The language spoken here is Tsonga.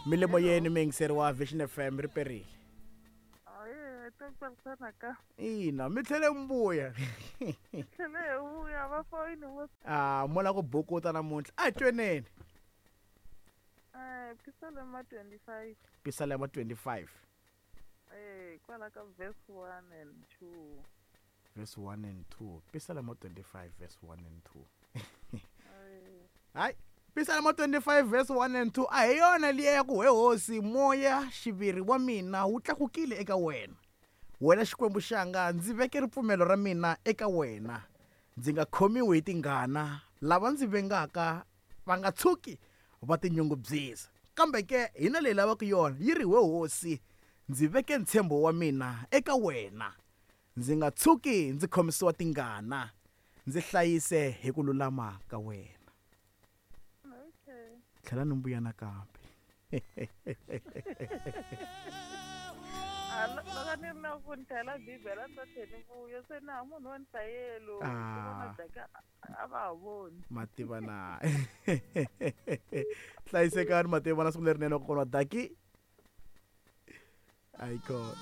Mi le moyeni muyingiseri wa Vision FM ri perile. Ahee, tsakisana nakambe. Ina, mi tlhele mi vuya. Tlhele hi vuya va foyini vo Ah, mo la ku bukuta namuntlha. A hi tweneni. Pisalema 25. Pisalema 25. Kwala ka verse 1 and 2. Verse 1 and 2. Pisalema 25 verse 1 and 2. Hayi, Pisalema 25 verse 1 and 2 a hi yona liya ya ku he hosi moya xiviri wa mina wu tlakukile eka wena. Wena Xikwembu xanga ndzi veke ripfumelo ra mina eka wena. Ndzi nga khomiwi hi tingana, lava ndzi vengaka va nga tshuki va tinyungubyisa. Kambe ke hina leyi lavaka yona yi ri we hosi ndzi veke ntshembo wa mina eka wena. Ndzi nga tshuki ndzi khomisiwa tingana, ndzi hlayise hi ku lulama ka wena. Okay. Tlhela ni mbuya nakambe. Ah, loko ni ri na ku ni hlayela Bibele a ni ta tlhela ni vuya se na munhu wa ni hlayelo. Ah. Vona a va ha voni. Mativa na. Hlayisekani mativa na siku lerinene kokwana wa Daki. Ayikona.